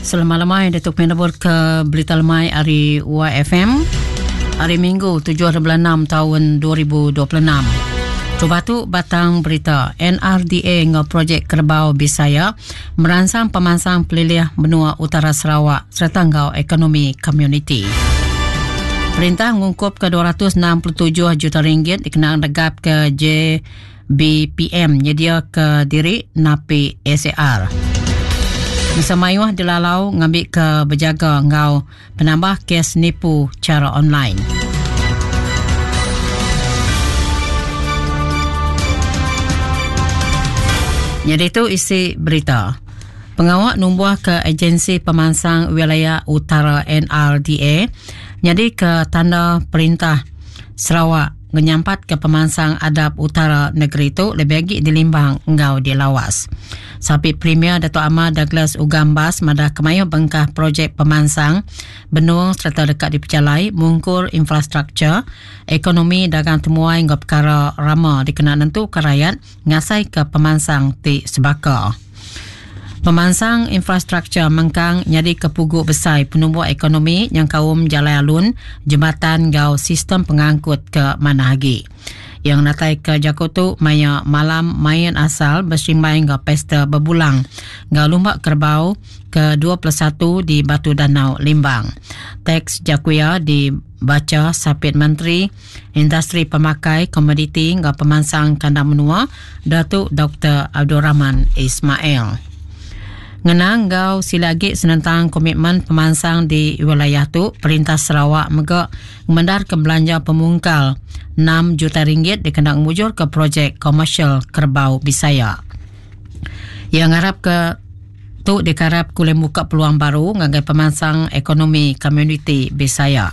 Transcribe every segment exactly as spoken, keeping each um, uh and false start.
Selamat lemai Datuk Penabur ke Berita Lemai hari Y F M hari Minggu tujuh bulan enam tahun dua ribu dua puluh enam. Cuba tu batang berita N R D A ngau projek Kerbau Bisaya merangsang pemansang pelilih benua Utara Sarawak serta ngau ekonomi komuniti. Perintah ngungkup ke dua ratus enam puluh tujuh juta ringgit dikenang negap ke J B P M nyedia ke diri napi S A R. Bersama dilalau ngambil ke berjaga ngau penambah kes nipu cara online. Jadi itu isi berita. Pengawak numbuh ke Agensi Pemansang Wilayah Utara N R D A jadi ke tanda perintah Sarawak menyampat ke pemansang adab utara negeri itu lebih lagi dilimbang engau dilawas. Sapi Premier Dato' Amar Douglas Ugambas madah kemayu bengkah projek pemansang benung serta dekat diperjalai mungkur infrastruktur ekonomi dagang temuai ngau perkara rama dikena nentu ke rakyat ngasai ke pemansang ti sebaka. Pemansang infrastruktur mengkang nyadi kepugu besar penumbuh ekonomi yang kaum jalan alun, jembatan gau sistem pengangkut ke mana lagi. Yang natai ke Jakotu maya malam main asal bersimbai gau pesta berbulang gau lumbak kerbau ke dua puluh satu di Batu Danau Limbang. Teks Jakuya dibaca Sapit Menteri Industri Pemakai Komoditi gau Pemansang Kandang Menua Datuk Doktor Abdul Rahman Ismail. Ngenang gau silagi senentang komitmen pemansang di wilayah tu, Perintah Sarawak megak mendar ke belanja pemungkal enam juta ringgit dikena mujur ke projek komersial Kerbau Bisaya. Yang harap ke tu dikarap kulai muka peluang baru ngagai pemansang ekonomi komuniti Bisaya.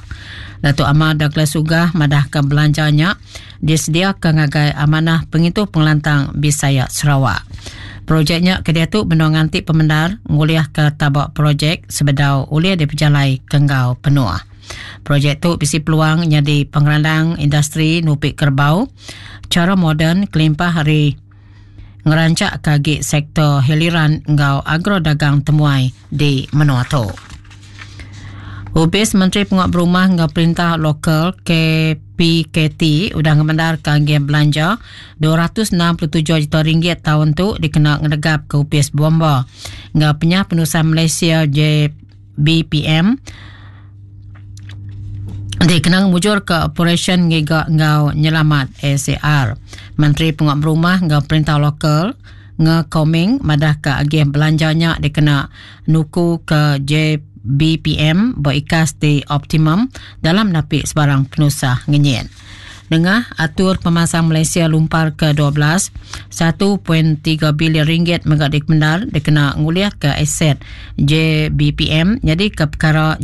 Datuk Amar Douglas Ugah madah ke belanjanya disediakan ngagai amanah pengitu pengelantang Bisaya Sarawak. Projeknya kedia tu benung nganti pemendar nguliah ke tabak projek sebedau uliah diperjalai kenggau penuh. Projek tu bisi peluang jadi pengerandang industri nupik kerbau cara moden kelimpah hari ngerancak kagi sektor hiliran enggau agro dagang temuai di menua tu. Ubis Menteri Penguat Berumah enggau Perintah Lokal K P K T udah ngemendar ke angin belanja dua ratus enam puluh tujuh juta ringgit tahun tu dikena ngedegap ke Upis Bomba. Enggau penyah penusan Malaysia J B P M dikena mujur ke operasi ngiga enggau nyelamat S A R. Menteri Penguat Berumah enggau Perintah Lokal ngekoming madah ke agih belanjanya dikena nuku ke J B P M berikas di optimum dalam napik sebarang penusah ngenyit. Dengah atur pemansang Malaysia lumpar ke dua belas, satu perpuluhan tiga bilion ringgit megak dikendar dikena nguliah ke aset J B P M jadi ke perkara